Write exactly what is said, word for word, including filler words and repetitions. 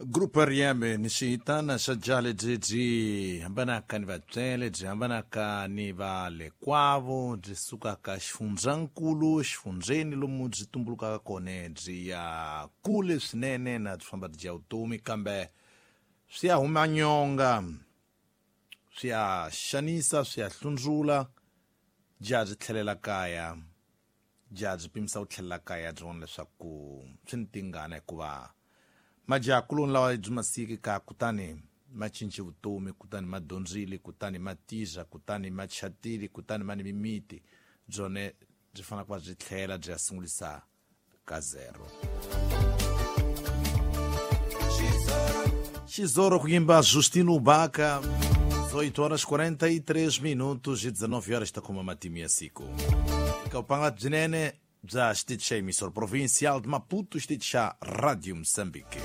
Grupo R M ni xihitana xa jaha lebyi byi hambanaka ni vatswele byi hambanaka ni va le kwavo byi sukaka xifundzankulu xifundzeni lomu byi tumbulukaka kona byi ya kule swinene na byi famba byi ya vutomi kambe swi ya huma nyonga swi ya xanisa swi ya hlundzula jaha byi tlhelela kaya jaha byi pimisa ku tlhelela kaya byi vona leswaku swi ni tingana hikuva majaha-kuloni lawa byi ma siyeke kaya kutani ma cince vutomi kutani ma dyondzile kutani ma tirha kutani ma chatile kutani ma ni mimiti byone byi fanele ku va byi tlhela byi ya sungulisa ka zero. Xizoro ku yimba Justino Baka, dezoito horas quarenta e três minutos e dezenove horas está com uma matimia siku. Eka byinene bya xitichi xa emissora provincial de Maputo, xitichi xa Radio Moçambique.